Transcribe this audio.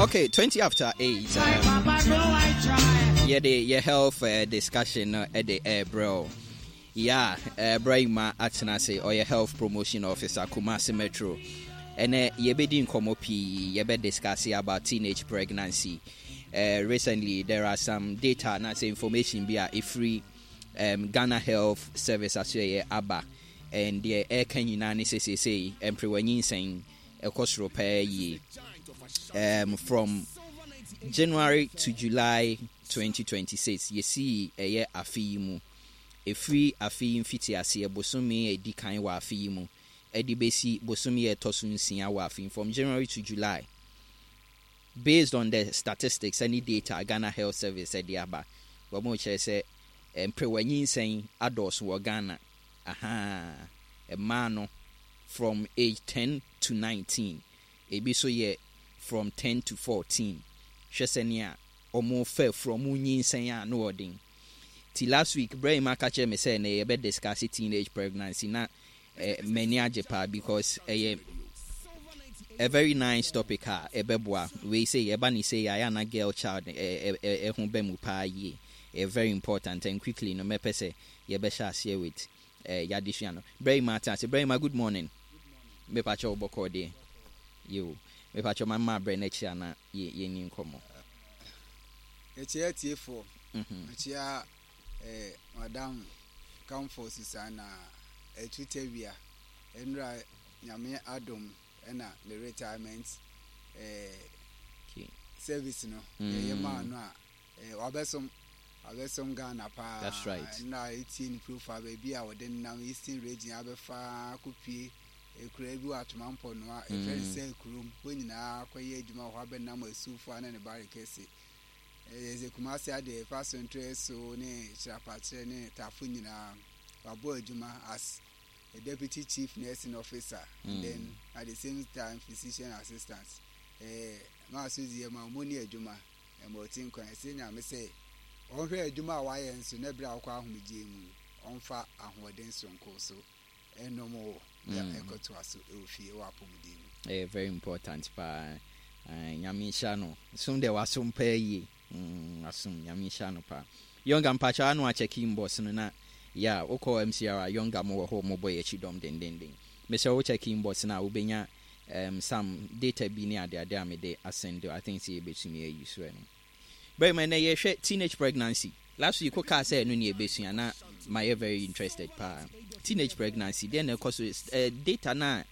Okay, 20 after 8. Yɛde yɛ health discussion no ɛde ɛrebrɛ o. Yeah, Brahima atena ase, ɔyɛ health promotion officer, Kumasi Metro. Ɛnɛ yɛbɛdi nkɔmmɔ pii, yɛbɛ discuss about teenage pregnancy. Recently there are some data na sɛ information bi a ɛfiri Ghana Health Service asoɛyɛ aba, and deɛ ɛreka nyinaa ne sɛ seesei mperewanyinsɛn ɛkɔ soro paa yie. From January to July 2026, yɛsii ɛyɛ afe yi mu, ɛfiri afe yi mfiti aseɛ bosome a ɛdi kan wɔ afe yi mu ɛde bɛsi bosome a ɛtɔ so 6 wɔ afe yi, from January to July, based on the statistics ɛne data Ghana Health Service ɛde aba, wɔn kyerɛ sɛ mperewanyinsɛn adɔɔso wɔ Ghana aha. Mmaa no from age 10 to 19, ebi so yɛ from 10 to 14. Hwɛ sɛnea wɔn fɛ from nyinsɛn a no ɔden. Ti last week brɛ yi aka kyerɛ me sɛ na yɛbɛ discuss teenage pregnancy na m'ani agye paa because ɛyɛ a very nice topic a ɛbɛboa. Wei sɛ yɛba ne sɛ yɛayɛ ana girl child ɛho bɛ mu paa yie. Ɛyɛ very important, and quickly no mɛpɛ sɛ yɛbɛhyɛ aseɛ with yɛadesua no. Brɛ yi ma ate ase. Brɛ yi ma, good morning. Mepakyɛ wo, bɔkɔɔ deɛ yo? Mepakyɛ ma mma abrɛ n'akyi ana yɛni nkɔmmɔ. Yɛkyia atiefoɔ. Mekyia Madam Comfort Susanna Atutawia. Nnura Nyame adom ɛna ne retirement service no yɛyɛ maa no a wabɛsom Ghana paa. That's right. Nnura etie ne profile, baabi a wɔde nam Eastern Region abɛfa akɔpie ekura bi wɔ Atoma Mpɔnoa, efrɛ no sɛ kurom hɔ nyinaa, akɔyɛ adwuma wɔ hɔ, abɛnam asuufo ne ne bare kɛse. Ɛyɛ sɛ Kumase adeɛ ɛfa so ntrɛ so ne kyerɛpakyerɛ ne tafo nyinaa wabɔ adwuma as a deputy chief nursing officer, then at the same time physician assistant. Maa so zi ɛma ɔmo ni adwuma ɛma ɔti nkwan. Ɛsɛ Nyame sɛ ɔnhwɛ adwuma a wayɛ nso na ebere a ɔkɔ ahomegye mu no, ɔmfa ahoɔden soronko so ɛnɔm wɔ na ɛkɔtoa so ɛwɔ fie wɔ apɔmuden mu. Ɛyɛ very important paa. Nyame nhyira no som deɛ wasom paa yie. Asom Nyame nhyira no paa. Yɔnga, mpakyɛ ano akyɛke inbox no na ya wokɔ MCR a yɔnga mo wɔ hɔ, mobɔ yɛ akyi dɔm dendenden. Mesɛ wo check inbox no a, wobɛnya some data bi ne adeade a mede asend. I think sɛ yɛbɛtumi ayi so ɛno bɛrima. Ɛnɛ yɛhwɛ teenage pregnancy. Last week wokaa sɛ ɛno ne yɛbɛsua na mayɛ very interested paa. Teenage pregnancy deɛ na ɛkɔ so, data no a